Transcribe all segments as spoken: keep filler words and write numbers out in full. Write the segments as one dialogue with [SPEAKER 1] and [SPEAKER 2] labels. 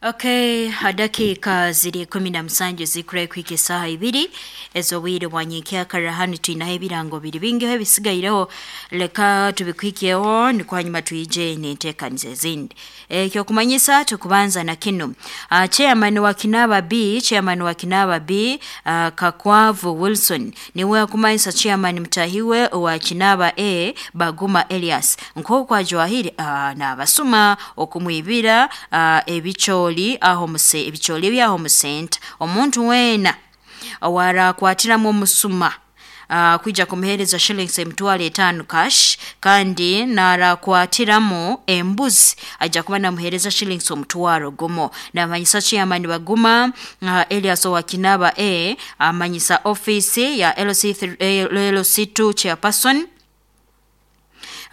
[SPEAKER 1] Okay, dakika ziri kumi na musanju zikura kwika esaha ibiri ez'obwire bwa nyenkyakara. Hanu twinaho ebirango biri bingiho ebisigayireho, leka tubikwikeho nikwo hanyuma twije n'enteekaniza ezindi. Ekyokumanyisa tukubanza na kinu, uh, chairman wa Kinaba B, chairman wa Kinaba B, uh, Kakwavu Wilson niwe akumanyisa chairman mutahiwe wa Kinaba A Baguma Elias nk'oku ajwahire uh, n'abasuma okumwibira uh, ebicooli aho muse ebicooli ebyaho musenta. Omuntu weena owarakwatiramu omusuma uh, kwija kumuhereza shillings emitwaro etaano cash, kandi narakwatiramu embuzi ajja kuba namuhereza shillings omutwaro gumu. Namanyisa chairman Baguma uh, Elias owa Kinaba A amanyisa office ya L C three, L C two chairperson.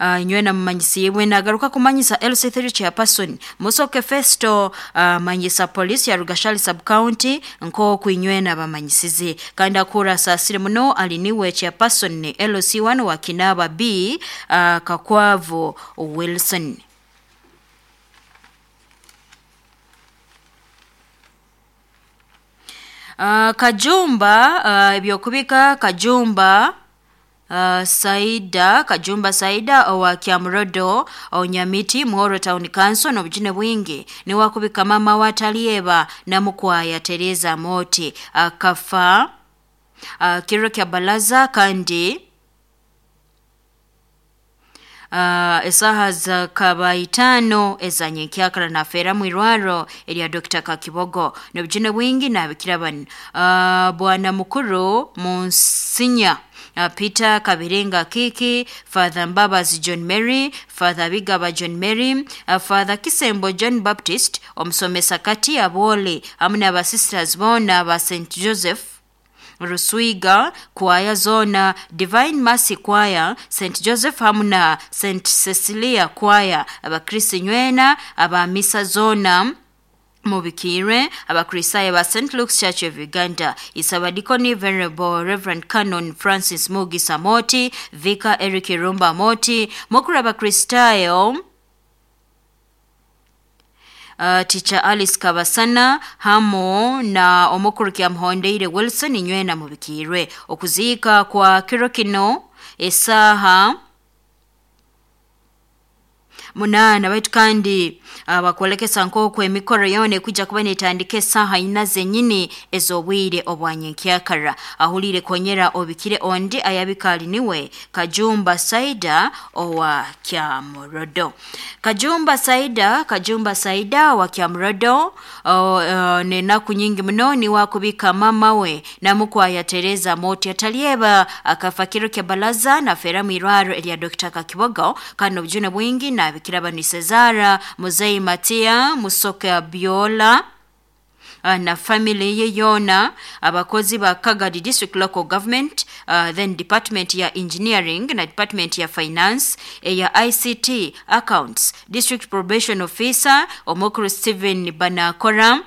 [SPEAKER 1] Uh, nywena mumanyisiibwe nagaruka kumanyisa L C three chairperson Musoke Festo, uh, manyisa police ya Rugashali sub county nk'oku inywena bamanyisize. Kandi akura asasire muno ali niwe chairperson L C one wa Kinaba B, uh, Kakwavu Wilson. Uh, Kajumba, uh, ebyokubika Kajumba Uh, Saida Kajumba Saida owa Kyamurodo Onyamiti Muhoro Town Council n'obujune bwingi niwakubika mama wa Talieba Namukwaya Teresa Moti akafa uh, kiro kya balaza kandi uh, esaha za kaba itaano ezanyenkyakara nafeera mu irwaro erya Doctor Kakibogo. N'obujune bwingi nabikira bano, uh, bwana mukuru Munsinya uh, Peter Kabirenga Kiki, Father Mbabazi John Mary, Father Bigaba John Mary, uh, Father Kisembo John Baptist omusomesa kati abole hamwe n'aba sisters boona ba Saint Joseph Ruswiga kwaya zona, Divine Mercy Choir Saint Joseph hamwe na Saint Cecilia Choir, abakristo nywena abamisa zona mubikirwe, abakristayo ba Saint Luke's Church of Uganda, Isabadikoni Venerable Reverend Canon Francis Mugisa Moti, Vicar Eric Rumba Moti, mukuru abakristayo Uh, Teacher Alice Kabasana hamo na omukuru Kyamuhondeire Wilson inywena mubikirwe. Okuziika kwa kiro kino esaha munaana, baitu kandi abakwolekesa nk'oku emikoro yoona ekwijja kuba netandika esaaha ina zenyini ez'obwire obwanyenkyakara. Ahuliire konyera obikire ondi ayabika ali niwe Kajumba Saida owa Kyamurodo. Kajumba Saida, Kajumba Saida wa Kyamurodo, uh, uh, nenaku nyingi muno niwakubika mama we Namukwaya Teresa Moti atalieba akafa kiro kya balaza nafeera mu irwaro erya Doctor Kakibogo. Kandi obujune bwingi nabikira bani Cesara Muzei Matia Musoke Biola na family ye yona, abakozi ba Kagadi District Local Government, uh, then department ya engineering na department ya finance, eya I C T, accounts, district probation officer omukuru Stephen Banakora,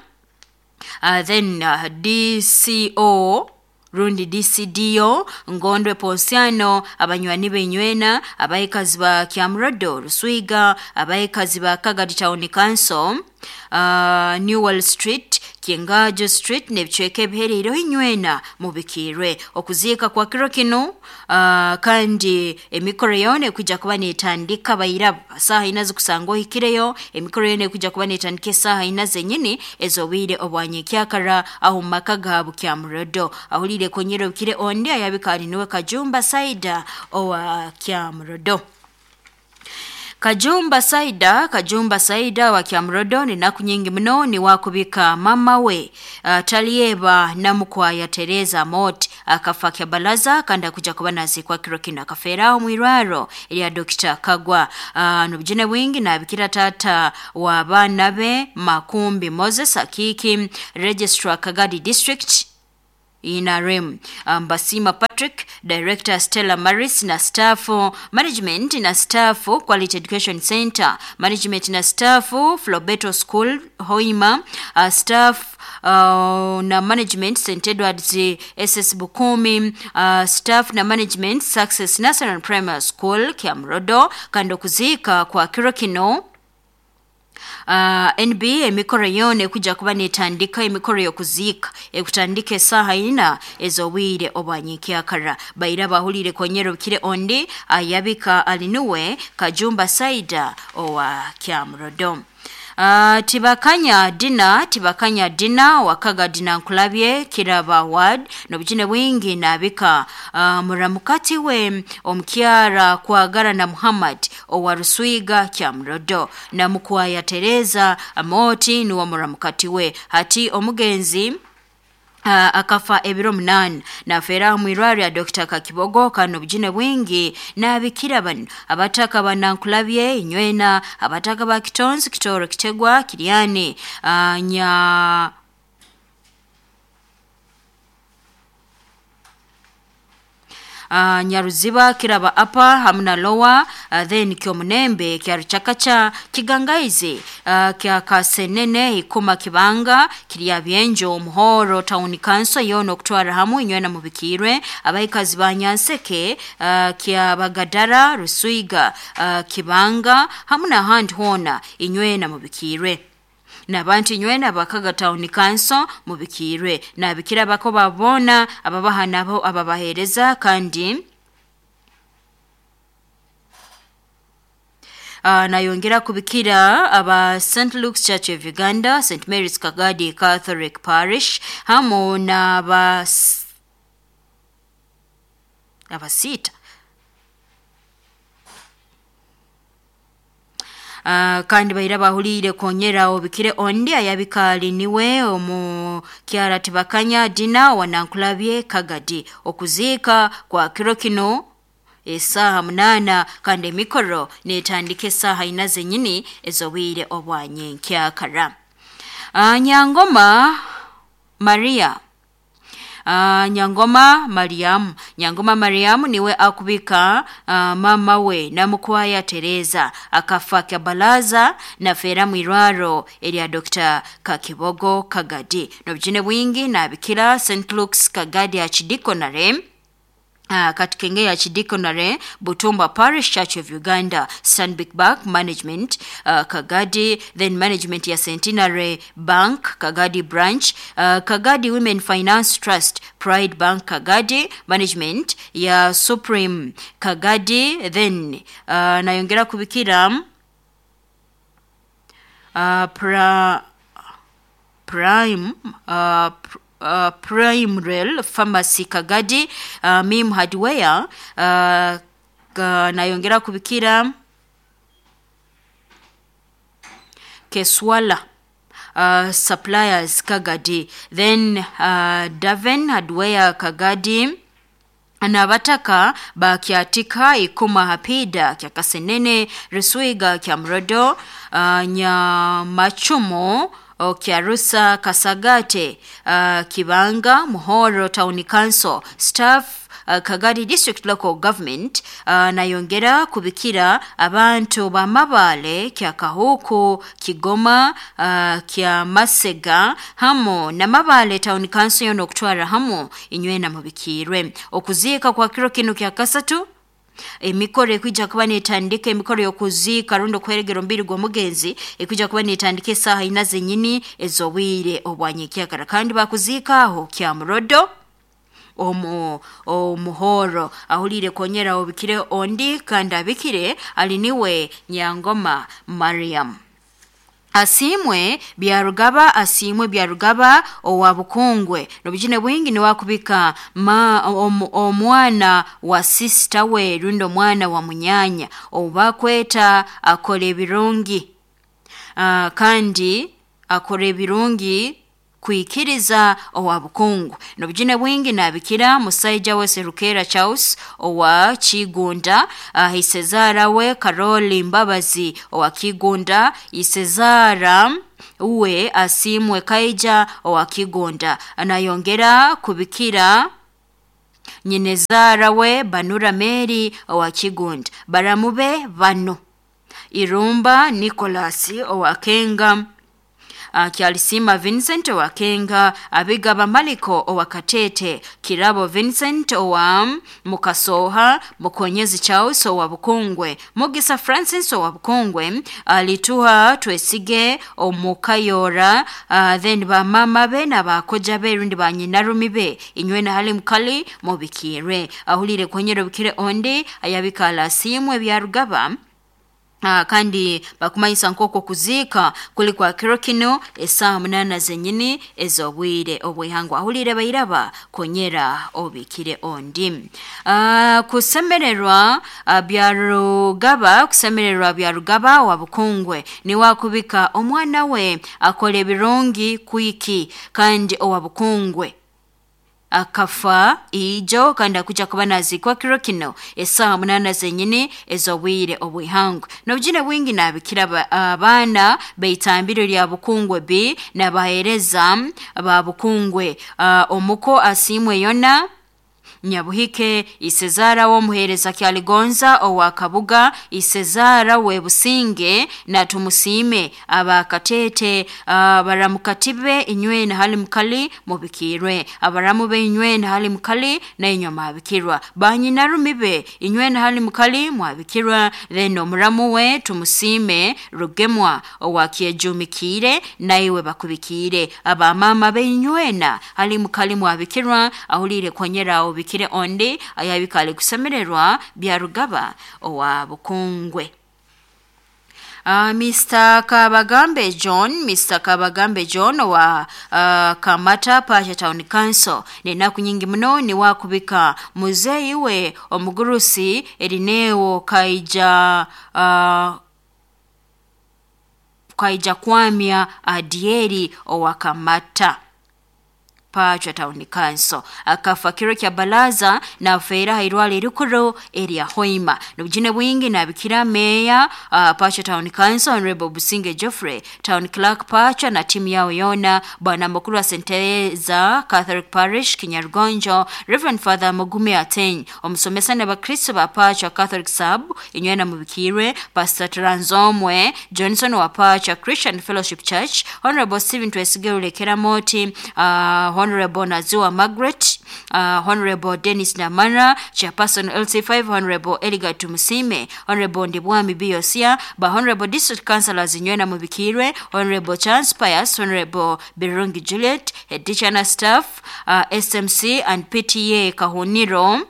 [SPEAKER 1] uh, then uh, D C O rundi D C D O Ngondwe Ponsiano, abanywani benywena abayikazi ba Kyamurodo Ruswiga, abayikazi ba Kagadi Town Council, uh, Newell Street, Kingajo Street n'ebicweka ebihereireho inywena mubikirwe. Okuziika kwa kiro kino, uh, kandi emikoro yoona ekwijja kuba netandika bairabo saaha ina zikusanga ohikireyo. Emikoro yoona ekwijja kuba netandika esaaha ina zenyini ez'obwire obwanyenkyakara aho mu maka gaabo Kyamurodo. Ahuliire konyera obukire ondi ayabika ali niwe Kajumba Saida owa Kyamurodo. Kajumba Saida, Kajumba Saida wa Kyamurodo ninaku nyingi muno ni wakubika mama we uh, Talieba Namukwaya Teresa Mot akafa kyabalaza kandi akuja kuba nazikwa kiro kino akafeeraho mwirwaro erya Doctor Kagwa. uh, nobujune bwingi nabikira tata wa baana be Makumbi Moses Akiki, Registrar Kagadi District N R M, um, Basima Patrick, Director Stella Maris na staff, management na staff Quality Education Center, management na staff Flobeto School Hoima, uh, staff uh, na management Saint Edwards S S Bukumi, uh, staff na management Success National Primary School Kyamrodo. Kandi okuziika kwa kiro kino Uh, N B emikoro yone kuja kuba netandika emikoro yokuziika ekutandika esaha ina ezobwire obwanyikyakara. Baira bahulire konyero bikire ondi ayabika alinuwe Kajumba Saida owa Kyamurodo. Uh, tibakanya dina tibakanya dina wakaga dina nkulabye kiraba ward nobujine bwingi nabika uh, muramukati we omkyara kwagara na Muhammad owa Ruswiga Kyamurodo na mukwaya Tereza Amoti ni wa muramukati we hati omugenzi Uh, akafa ebiro munani na fera mwirwari ya Doctor Kakibogo kano bujine bwingi na bikira bano abataka banankulabye inywena abataka ba Kitonzi Kitoro Kitegwa Kiriani uh, nya Uh, Nyaruziba Kiraba Upper hamna Lower uh, then Kyomunembe Kyaruchakacha Kigangaizi uh, kya Kasenene Ikuma Kibanga Kirya Byenjo Muhoro Town Council yono kutwara hamu inywena mubikirwe abaikazi ba Nyanseke uh, kya Bagadara Ruswiga uh, Kibanga hamna handi hona inywena mubikirwe nabantu inywena bakaga Town Council mubikirwe nabikira bako babona ababaha nabo ababahereza kandi Uh, nayongera kubikira aba Saint Luke's Church of Uganda, Saint Mary's Kagadi Catholic Parish hamo na aba abasita Uh, kandi bahira bahulire konyera obikire ondi ayabikali niwe omu kyara tibakanya dina wanankulabye Kagadi okuziika kwa kiro kino esaha munana kandi emikoro netandika esaha ina zenyini ezobwire obwanyenkyakara. Uh, Nyangoma Maria Uh, Nyangoma Mariamu Nyangoma Mariamu niwe akubika uh, mama we namukwaya Tereza akafa kabalaza na fera mwirwaro erya Doctor Kakibogo Kagadi nobujine bwingi nabikira Saint Luke's Kagadi Archdeaconry Uh, katikenge ya Chidikonare Butumba Parish Church of Uganda Stanbic Bank Management uh, Kagadi then Management ya Centenary Bank Kagadi Branch uh, Kagadi Women Finance Trust Pride Bank Kagadi Management ya Supreme Kagadi then uh, nayongera kubikira uh, pra, Prime uh, pr Uh, Prime Rail Pharmacy Kagadi uh, Mim Hardware uh, uh, nayongera kubikira Keswala uh, Suppliers Kagadi then uh, Daven Hardware Kagadi nabataka bakyatika Ikuma Hapida kya Kasenene Ruswiga kya Mrodo uh, Nyamachumo Kyarusa Kasagate uh, Kibanga Muhoro Town Council Staff uh, Kagadi District Local Government uh, nayongera kubikira abantu bamabale kya Kahuku Kigoma uh, kya Masega hamo na Mabale Town Council yono kutwara hamo inywena mubikirwe okuziika kwa kiro kino kya kasatu emikoro ekwijja kuba netandika emikoro y'okuziika rundi okweregera omubiri gw'omugenzi ekwijja kuba netandika esaaha ina zenyini ez'obwire obwanyekyakara kandi bakuziika aho Kyamurodo omu omuhoro ahulire konyera obikire ondi kandi abikire aliniwe Nyangoma Mariam Asimwe Byarugaba Asimwe Byarugaba owa Bukungwe nobujine bwingi ni wakubika ma omwana wa sister we rundo mwana wa munyanya obakweta akora ebirungi uh, kandi akora ebirungi kuikiriza owa Bukungu nobujine bwingi nabikira musaija we Serukera Charles owa Kigunda uh, Isezara we Karoli Mbabazi owa Kigunda Isezara uwe Asimwe Kaija owa Kigunda anayongera kubikira nyinezara we Banura Mary owa Kigunda baramube bano Irumba Nicholas owa Kenga uh, Kyalisima Vincent owa Kenga, Abigaba Maliko owa Katete, Kirabo Vincent owa Mukasoha, Mukonyezi Charles owa Bukungwe, Mugisa Francis owa Bukungwe, Alituha Twesige Omukayora, uh, then bamama be n'abakoja be rundi banyinarumi be inywe na hali mukali mubikire. Ahulire kwenyero bikire ondi ayabikala simwe byarugaba. Uh, kandi bakumanyisa nkoko kuziika kuli kwa kiro kino esaaha munana zenyini ez'obwire obwihangwa. Ahulire bairaba konyera obikire ondi. Uh, kusemererwa uh, byarugaba kusemererwa byarugaba wa Bukungwe niwakubika omwana we akola ebirungi kwiki kandi owa Bukungwe akafa ijo kandi akuja kuba nazikwa kiro kino esaaha munana zenyini ez'obwire obwihangwe. N'obujune bwingi nabikira abaana beitambiro lya Bukungwe B n'abaheereza ba Bukungwe. Uh, omuko asimwe yona Nyabuhike Isezara w'omuheereza Kyaligonza owa Kabuga, Isezara we Businge na Tumusime abakatete uh, baramukatibe inywe na hali mukali mubikirwe, abaramu be inywe na hali mukali na inywe mwabikirwa, banyinarume be inywe na hali mukali mwabikirwa. Then omuramu we Tumusime Rugemwa owa Kyejumikire naiwe bakubikire, abamama be inywe na hali mukali mwabikirwa. Ahulire konyera obikire ondi ayabikale kusemererwa byarugaba owa Bukungwe. Uh, Mister Kabagambe John, Mister Kabagambe John wa uh, Kamata Pasha Town Council nenaku nyingi muno ni wakubika muzeyi we omugurusi erineo kaija uh, kaija kwamya adieri owa Kamata Pacha Town Council akafa kiro kya balaza na feira hairwale rukuru area Hoima. N'obujune bwingi nabikira meya uh, Pacha Town Council Honorable Businge Geoffrey, Town Clerk Pacha na timu yao yona, bwana mukuru wa Senteza Catholic Parish Kinyarugonjo Reverend Father Mugume Ateny, omusomesa n'abakristo ba Pacha Catholic Sub inywe na mubikirwe, Pastor Tranzomwe Johnson wa Pacha Christian Fellowship Church, Honorable Stephen Twesige Ulekera Moti, uh, Honorable Nazua Margaret, uh, Honorable Dennis Namara, Chairperson L C five, Honorable Eliga Tumusime, Honorable Ndibwami Biosia, ba Honorable District Councillors Nywena Mubikirwe, Honorable Chance Pius, Honorable Birungi Juliet, Head Teacher na Staff, uh, S M C and P T A Kahuniro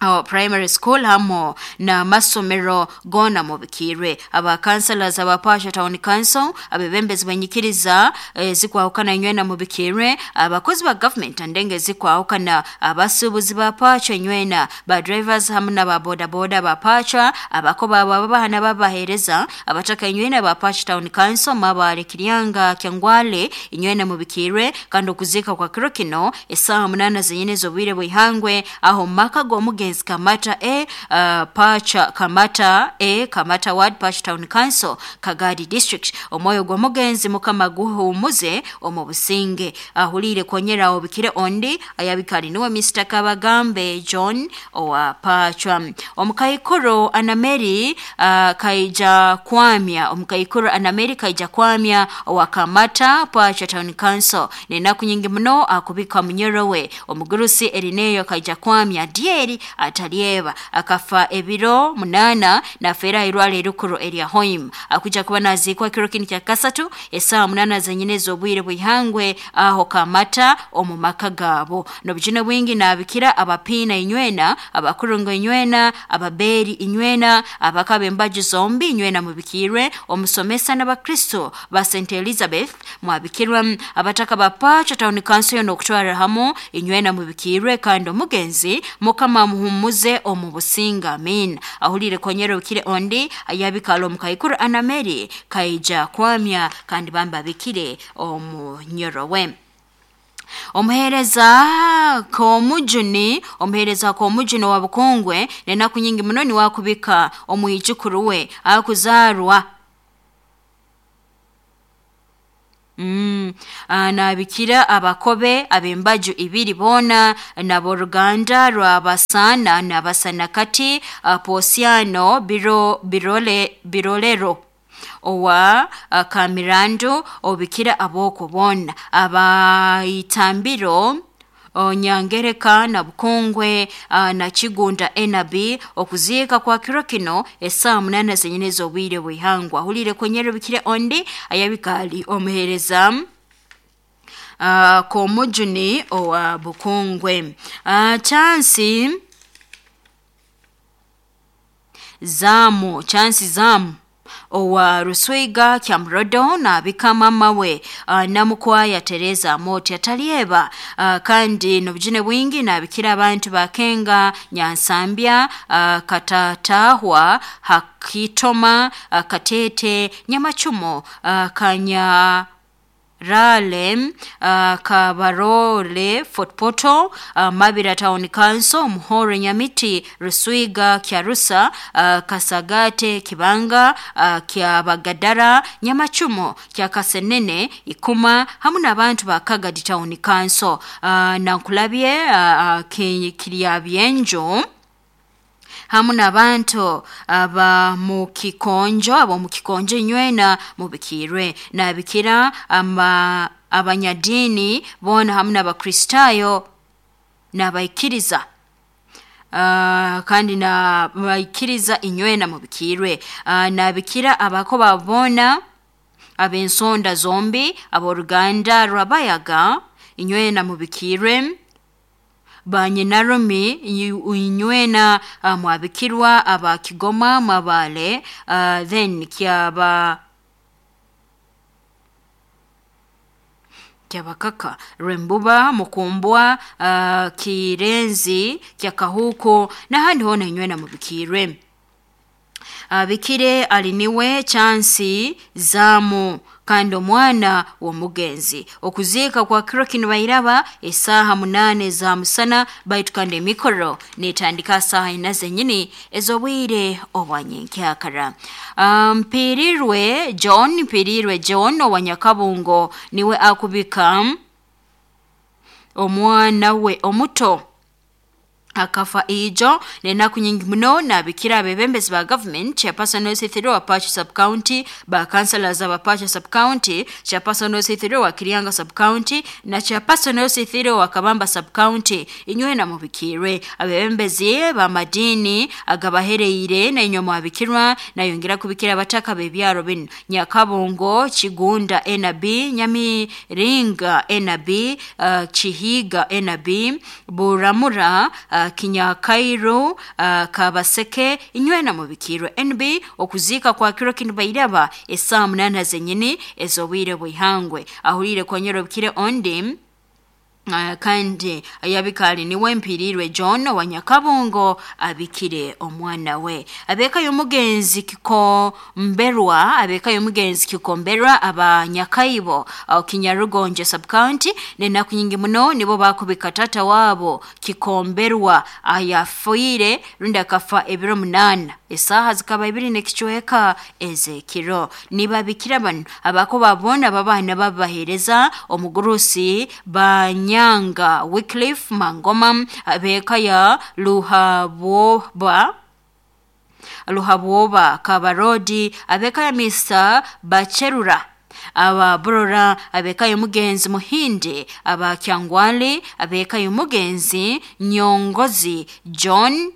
[SPEAKER 1] Our primary school hamo na masomero gona mubikirwe, aba councillors aba Pasha Town Council, abebembezi banyikiriza e, zikwahukana nywena mubikirwe, abakozi ba government andenge zikwahukana, abasubuzi ba Pacha nywena, ba drivers hamu na ba boda boda ba Pacha, abakoba babahana babahereza abataka nywena ba Pasha Town Council mabale Kiryanga Kyangwale inywena mubikirwe. Kandi okuzika kwa kiro kino esaha munana zenyene z'obwire bwihangwe aho maka g'omugenzi Kamata A, uh, Pacha Kamata A, Kamata Ward, Pacha Town Council, Kagadi District. Omwoyo gw'omugenzi Mukama guhumuze omu businge. Ahulire konyera obikire ondi ayabikali niwe Mister Kabagambe John owa Pacha. Omukaikuru Anameri uh, kaija kwamya Omukaikuru Anameri kaija kwamya owa Kamata Pacha Town Council nenaku nyingi muno akubika munyorowe omugurusi Erineyo kaija kwamya dieri atalieba akafa ebiro munana na fera irwale erukuru eria Hoim. Akuja kuba nazikwa kiro kini kya kasatu esaha munana zenyine z'obwire bwihangwe aho Kamata omu maka gabo. N'obujune bwingi nabikira abapina inywena, abakurungo inywena, ababeri inywena, abakabe embaju zombi inywena mubikirwe, omusomesa n'abakristo ba Saint Elizabeth mwabikirwa, abataka ba Pacha Town Council n'okutwara hamu inywena mubikirwe, kandi omugenzi Mukama muhumuze omu businga amin. Ahulire konyero bikire ondi ayabikalo mukaikuru Anameri kaija kwamya kandi bamba bikire omunyorowe. Omuheereza komujuni omuheereza komujuni wa Bukungwe nenaku nyingi muno ni wakubika omwijukuru we akuzarwa Mm. Nabikira abakobe abembaju ibiri bona naboruganda rwabasana nabasanakati uh, Posiano biro, birole, birolero Owa uh, Kamirandu obikira aboko bona abaitambiro Onyangereka na Bukungwe uh, na Kigunda N B. Okuziika kwa kiro kino esaa munana zenyine z'obwire bwihangwa. Hulire kwenyero bikire ondi ayabikali omuhereza uh, komujuni owa Bukungwe. uh, chansi zamu chansi zamu owa Ruswiga Kyamrodo na bikama mawe uh, namukwaya Teresa Moti atalieba uh, kandi nobujine bwingi na bikira abantu bakenga Nyansambya uh, Katatahwa Hakitoma uh, Katete Nyamachumo uh, Kanya Rale uh, Kabarole Fort Portal uh, Mabira Town Council Muhore Nyamiti Ruswiga Kyarusa uh, Kasagate Kibanga uh, Kyabagadara Nyamachumo Kyakasenene Ikuma hamu n'abantu ba Kagadi Town Council uh, Nankulabye uh, Kiryabyenjo hamu n'abantu aba mu kikonjo abo mu kikonjo inywena mubikirwe nabikira ama abanyadini bona hamu n'abakristayo n'abaikiriza Uh, kandi na baikiriza inywena mubikirwe uh, nabikira abako babona abensonda zombi aboruganda rwabayaga inywena mubikirwe banyinarumi inywena uh, mwabikirwa abakigoma mabale uh, then kyaba kyabakaka Rwembuba Mukumbwa uh, Kirenzi Kyakahuko n'ahandi hona inywena mubikirwe. Abikire aliniwe chansi zamu kandi omwana w'omugenzi. Okuziika kwa kiro kino bairaba esaaha munane za musana baitu kandi emikoro netandika saaha ina zenyini ez'obwire obwanyenkyakara. Mpirirwe John Mpirirwe John owa Nyakabungo niwe akubika omwana we omuto akafa ijo nenaku nyingi muno nabikira abebembezi ba government chairperson Osithiro wa Pacho sub county ba councillors aba Pacho sub county chairperson Osithiro wa Kirianga sub county na chairperson Osithiro wa Kabamba sub county inywena mubikirwe abebembezi ba madini agabahereire na inyoma abikirwa na yongera kubikira abataka bebyaro bino Nyakabongo Kigunda N B Nyamiringa N B uh, Chihiga N B Buramura uh, Kinyakairo uh, Kabaseke inywena mubikirwe N B. Okuziika kwa kiro kino bairaba esaa munana zenyini ezobwire bwihangwe. Ahulire kwa nyoro bikire ondi Uh, kandi ayabikali niwe Mpirirwe John wa Nyakabongo abikire omwana we. Abeka y'omugenzi Kikomberwa abeka y'omugenzi Kikomberwa aba Nyakaibo au Kinyarugonje sub county nenaku nyingi muno nibo bakubika tata wabo Kikomberwa ayafuire rundi akafa ebiro munana esaha zikaba ibiri nekichweka ezekiro. Nibabikira bano abako babona babana babahereza omugurusi banya Nyanga Wycliffe Mangoma abeka ya Luhaboba Luhaboba Kabarodi abeka ya Mister Bacherura aba Burora abeka y'omugenzi Muhindi aba Kyangwali abeka y'omugenzi Nyongozi John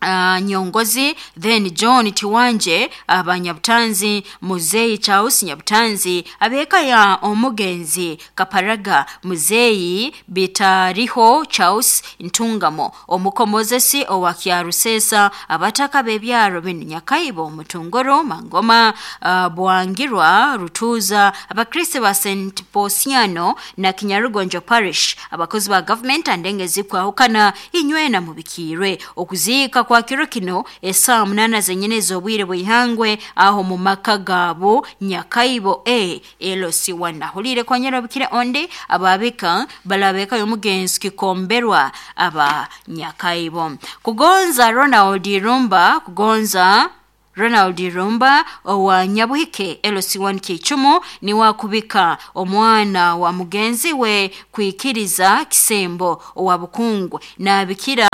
[SPEAKER 1] Uh, Nyongozi then John Tiwanje abanyabutanzi Muzeyi Charles Nyabutanzi abeka ya omugenzi Kaparaga Muzeyi Bitariho Charles Ntungamo omukomozesi owa Kyarusesa abataka bebyaro bino Nyakaibo Mutungoro Mangoma uh, Bwangirwa Rutuza abakristo ba Saint Posiano na Kinyarugonjo Parish abakozi ba government andenge zikwahukana inywena mubikirwe. Okuziika kwa kiro kino esaa munana zenyine z'obwire bwihangwe aho mu maka gabo Nyakaibo A L C one. Ahulire kwa nyarabikire onde ababika balabeka y'omugenzi Kikomberwa aba Nyakaibo. Kugonza Ronald Rumba kugonza Ronald Rumba owa Nyabuhike L C one Kichumu ni wakubika omwana wa mugenzi we kwikiriza Kisembo owa Bukungwe na bikira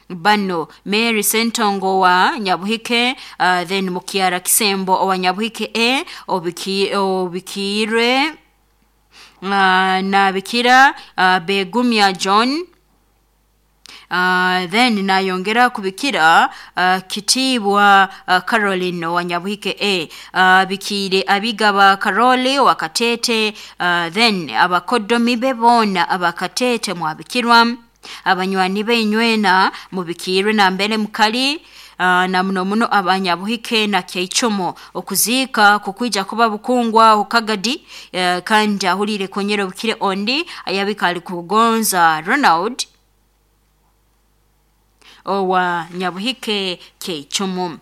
[SPEAKER 1] bano Mary Sentongo wa Nyabuhike, uh, then Mukiara Kisembo owa Nyabuhike e obiki, obikire uh, na bikira uh, Begumya John. Uh, then nayongera kubikira uh, Kitibwa uh, Caroline wa Nyabuhike A, uh, bikire abigaba Carole wa Katete, uh, then abakodomi bebona abakatete mwabikirwa abanywani beinywena mubikirwe na mbere mukali uh, na muno muno abanyabuhike na Keichomo okuzika kukwija kuba Bukungwa ukagadi, uh, kandi ahulire konyero bukire ondi ayabika ali kugonza Ronald owa Nyabuhike Keichomo.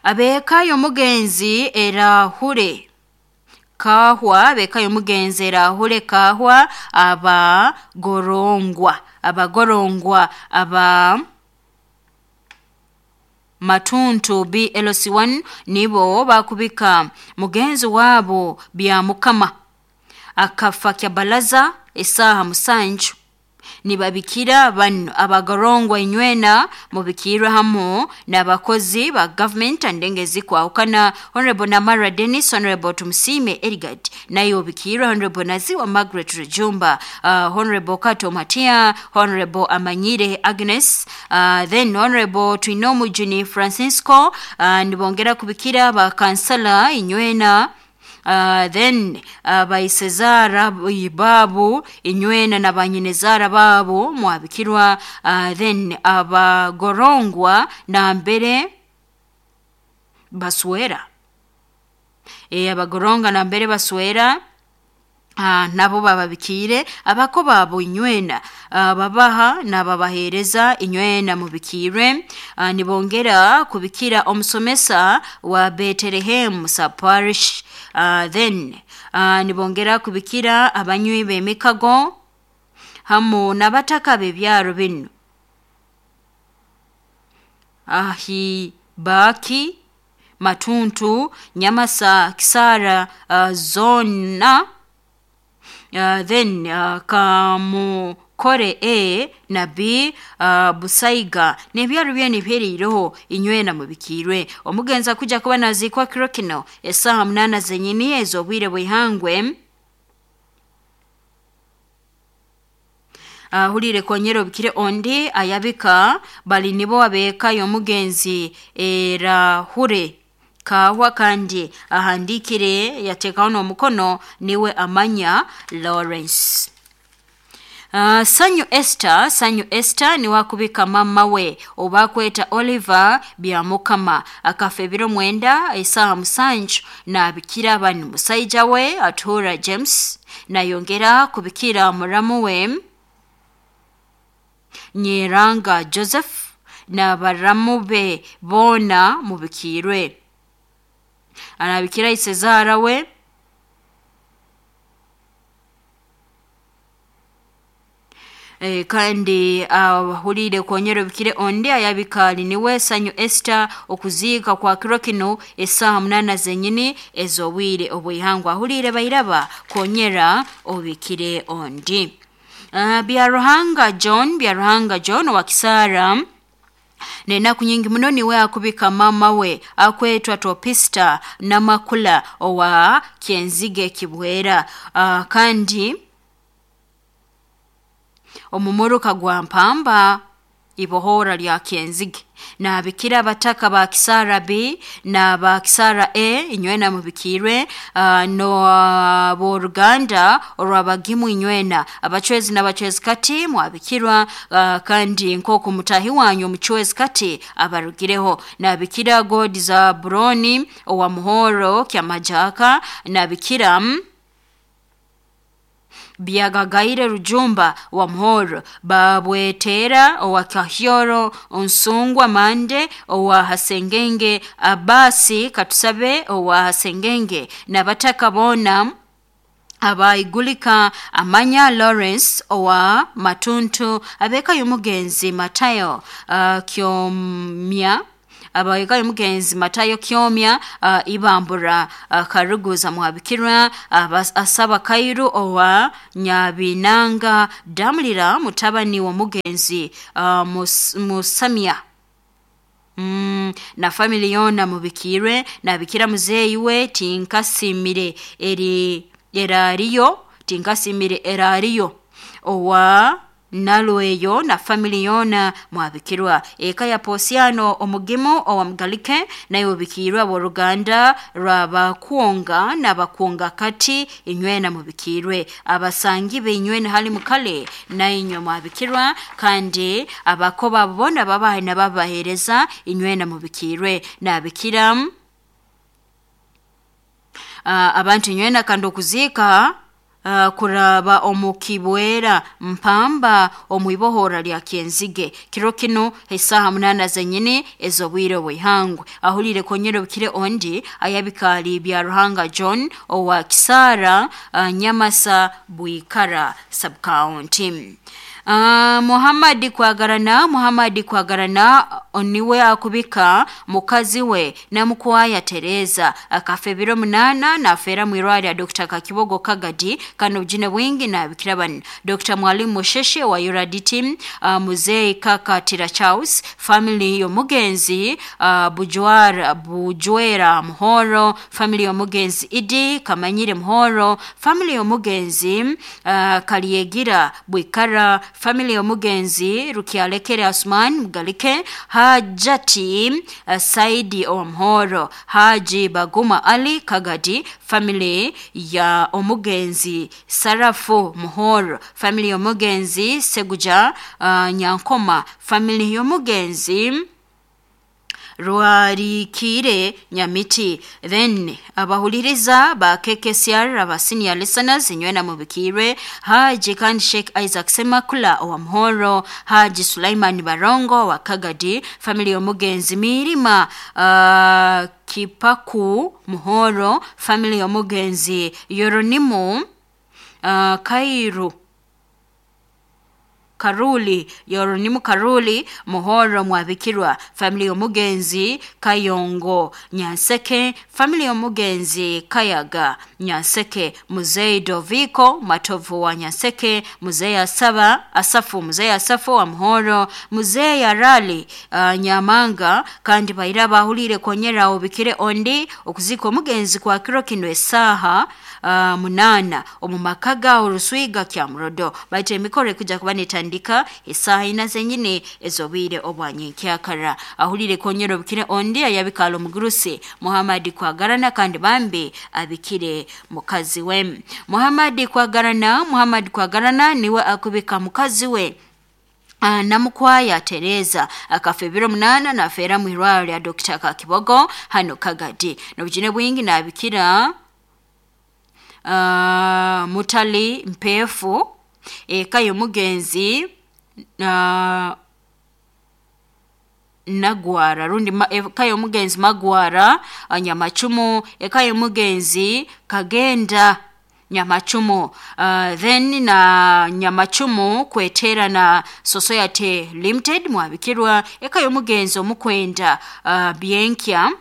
[SPEAKER 1] Abeka yomugenzi erahure kahwa beka yomugenzi erahure kahwa abagorongwa abagorongwa aba Matuntu B L C one nibo bakubika mugenzi wabo bya mukama akafa kya balaza esaha musanju. Nibabikira bano abagorongwa inywena mubikirwa hamu n'abakozi ba government andengezi kwahukana Honorable Namara Dennis, Honorable Tumsime Edgard, nayo bikirwa Honorable Naziwa Margaret Rujumba, uh, Honorable Kato Matia, Honorable Amanyire Agnes, uh, then Honorable Twinomu Juni Francisco, uh, nibongera kubikira ba kansala inywena. Uh, then uh, baisezara babu inywena na banyinezara babu mwabikirwa, uh, then abagorongwa na mbere baswera e abagoronga na mbere baswera Uh, nabo bababikire abako babo inywena uh, babaha nababahereza inywena mubikire. uh, nibongera kubikira omusomesa wa Bethlehem Parish, uh, then uh, nibongera kubikira abanywi b'emikago hamu nabataka bebyaro bino ahi baki Matuntu Nyamasa Kisara uh, zona. Uh, then uh, Kamukore A na B uh, Busaiga nebyaro byene byeriroho inywena mubikirwe. Omugenza kuja kuba nazikwa kiro kino esaha munana zenyini ezobwire bwihangwe. Uh, hulire konyero bikire ondi ayabika bali nibo abeka yomugenzi erahure kahwa kandi ahandikire yatekaho n'omukono niwe Amanya Lawrence. Uh, Sanyu Esther, Sanyu Esther ni wakubika mama we obakweta Oliver Byamukama akafa ebiro mwenda esaha musanju na bikira banu musaija we Atura James nayongera kubikira muramu we Nyeranga Joseph na baramu be bona mubikirwe. Anabikira isezara we e, kandi ahulire uh, konyero bikire ondi ayabikali niwe Sanyu Esther okuziika kwa kiro kino esaha munana zenyini ezobwire obwihangwa. Ahulire bairaba konyera obikire ondi. Uh, Byaruhanga John, Byaruhanga John wa Kisara nenaku nyingi muno niwe akubika mama we akwetwa Topista Namakula owa Kyenzige Kibwera, uh, kandi omumuruka gwa Mpamba ibohora lya Kyenzige na bikira bataka ba Kisara B na ba Kisara A inywena mubikirwe, uh, no uh, boruganda olwabagimu inywena abachwezi n'abachwezi kati mwabikirwa, uh, kandi nkoko mutahi wanyu omuchwezi kati abarugireho na bikira God za Broni owa Muhoro Kyamajaka na bikira Byagagaire Rujumba wa Muhoro Babwetera owa Kahyoro Onsungwa Mande owa Hasengenge Abasi Katusabe owa Hasengenge na bataka bona abaigulika Amanya Lawrence owa Matuntu abeka y'omugenzi Matayo uh, Kyomya Abaika y'omugenzi Matayo Kyomya uh, Ibambura uh, Karuguza mwabikirwa uh, Asaba Kairu owa Nyabinanga Damulira mutabani wa mugenzi uh, mus, Musamia Mm, na family yona mubikirwe nabikira muzeyi we tinkasimire eri erariyo tinkasimire erariyo owa nalweyo na family yona mwabikirwa. Eka ya Posiano omugimu owa Mugalike nayo bikirwa aboluganda rwabakuonga n'abakuonga kati inywena mubikirwe. Abasangi beinywena hali mukale na inywe mwabikirwa, kandi abakoba bona babahe nababahereza inywena mubikirwe. Nabikira uh, abantu inywena kandi okuzika Uh, kuraba omukibwera mpamba omwibohora lya Kyenzige kiro kino esaha munana zenyini ezobwire bwihangwe. Ahulire konyero bikire ondi ayabikali bya Ruhanga John owa Kisara uh, Nyamasa Bwikara sub-county. Uh, Muhammad Kwagarana Muhammad Kwagarana oniwe akubika mukazi we namukwaya Tereza akafe biro munana na afera mwirwari ya Doctor Kakibogo Kagadi kano ujine wingi na bikiraban Doctor Mwalimu Musheshe wa Yuradi team uh, Muzei Kaka Tira Charles family yomugenzi uh, Bujwara Bujwera Muhoro family yomugenzi Idi Kamanyire Muhoro family yomugenzi uh, Kaliegira Bwikara family yomugenzi Rukialekere Asman Mugalike Hajati uh, Saidi Omhoro Haji Baguma Ali Kagadi family ya omugenzi Sarafu Muhoro family yomugenzi Seguja uh, Nyankoma family yomugenzi Rwarikire Nyamiti. Then abahuliriza ba K K C R aba senior listeners inywena mubikirwe Haji kandi Sheikh Isaac Semakula wa Mhoro Haji Sulaiman Barongo wa Kagadi family yomugenzi Mirima uh, Kipaku Muhoro family yomugenzi Yoronimu uh, Kairu Karuli Yoronimu Karuli Muhoro mwabikirwa family yomugenzi Kayongo Nyanseke family yomugenzi Kayaga Nyanseke Muzei Doviko Matovu wa Nyanseke Muzei Asaba Asafu Muzei Asafu wa Muhoro Muzei Arali uh, Nyamanga kandi baira bahulire konyera obikire ondi okuzika omugenzi kwa kiro kino esaha uh, munana omumakaga oruswiga kya murodo baite emikoro ekuja kuba tandika esaha ina zenyine ezobwire obwanyenkyakara. Ahulire konyero bikire ondi ayabikalo mugurusi Muhammad Kwagarana kandi bambi abikire mukazi we Muhammad Kwagarana Muhammad Kwagarana niwe akubika mukazi we Uh, namukwaya Tereza akafe biro munana na afera mwirwaro ya Doctor Kakibogo hano Kagadi nobujine bwingi nabikira uh, mutali mpefu eka yomugenzi uh, Nagwara rundi ma, eka yomugenzi Magwara uh, Nyamachumu eka yomugenzi Kagenda Nyamachumu uh, then na Nyamachumu kwetera na Society Limited mwabikirwa eka yomugenzi omukwenda uh, Bienkia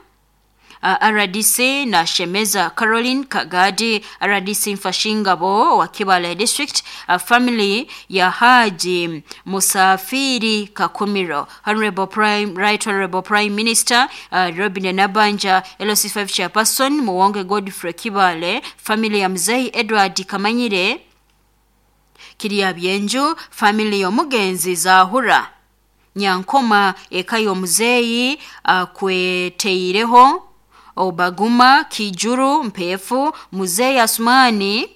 [SPEAKER 1] Uh, R D C na Shemeza Caroline Kagadi R D C Mfashingabo wa Kibale District uh, family ya Haji Musafiri Kakumiro Honorable Prime Right Honorable Prime Minister uh, Robin Nabanja L C five Chairperson Muwonge Godfrey Kibale family ya Mzee Edward Kamanyire Kiria Byenju family yomugenzi Zahura Nyankoma eka yomuzeyi uh, kweteireho Obaguma Kijuru Mpefu Muzee Asmani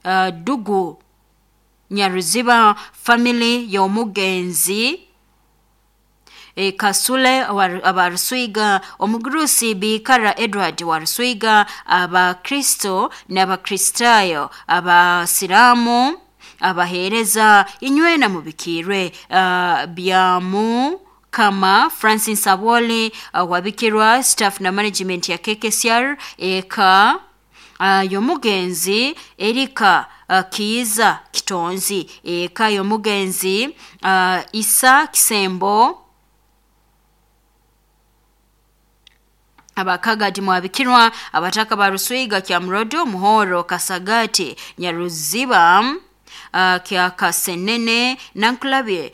[SPEAKER 1] uh, Dugu Nyaruziba family yomugenzi e, Kasule abaruswiga omugurusi Bikara Edward waruswiga abakristo n'abakristayo abasilamu abahereza inywena mubikirwe uh, byamu kama Francis Aboli uh, wabikirwa staff na management ya K K C R eka uh, yomugenzi Erika uh, Kiza Kitonzi eka yomugenzi uh, Isa Kisembo Abakagati Mwabikirwa, abataka ba Ruswiga, Kyamurodo, Muhoro, Kasagati, Nyaruziba, uh, Kyakasenene, Nankulabye.